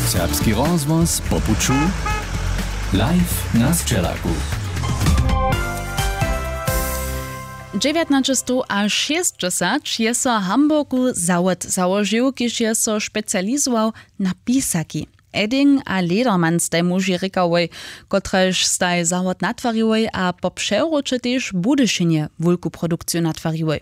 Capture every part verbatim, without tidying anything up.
Serbski rozhłos po puću, live na sćelaku. Dźewjatnaćestowašěsćdźesat je so w Hamburgu zawod załožił, kiž je so specializował na pisaki. Edding a Ledermann staj muži rěkałoj, kotrež staj zawod natwariłoj a po přewróće tež w Budyšinje wulku produkciju natwariłoj.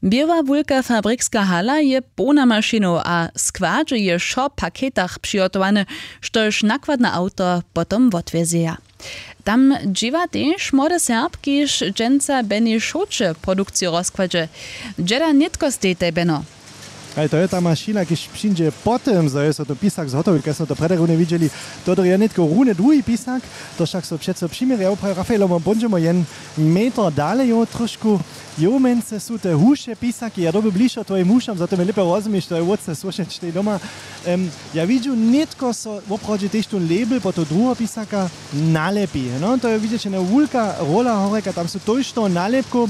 Běła wulka fabrikska hala je połna mašinow a składźe je wšo w paketach přihotowane, štož nakładne awto potom wotwjezeja. Tam dźěła tež młode Serb, kiž dźensa w Benešowče produkciju rozkładźe. Dźeda nětko stej, Beno? Haj, to je ta mašina, kiž přińdźe po tym, zo je so to pisak zhotowil, kaž smo to prjedy runje widźeli. To je nětko runje druhi pisak, to wšak so přeco přiměrja, prajo Rafaelo, my póńdźemy jen meter dale, jo, trošku. Jomence su te huše pisaki, ja doby bližo twojim hušam, za to mi lěpje rozumíš, to je wótře słyšeć tej doma. Em, ja widźu, nětko so woprawdźe tež tón label po to druheho pisaka nalepi. No, to je widźeć jedna wulka rola horjeka, tam su tójšto nalěpkow,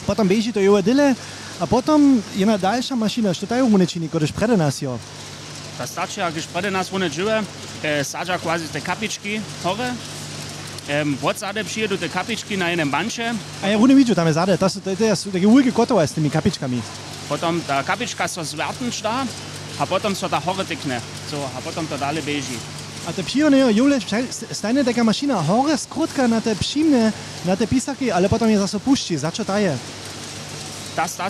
potom běži to jowe dyle a potom jedna dalša mašina, što ta jo runje čini, kodež prjedy nas jo. Ta starčeja, kiž prjedy nas runje dźěłe, e, sadźa quasi te kapički hore. Em, wotzady přijedu te kapički na jenem banče. A ja runje widźu, tam je zady, to su, to, to su take wulke kotowa z tymi kapičkami. Potom ta kapička so zwjertnyć da a potom so ta hore tykne. So, a potom to dale běži. A te přijomne jo, jowle stajnje taka mašina hore skrótka na te přimne, na te pisaki, ale potom je zaso pušći. Za čo ta je? Ta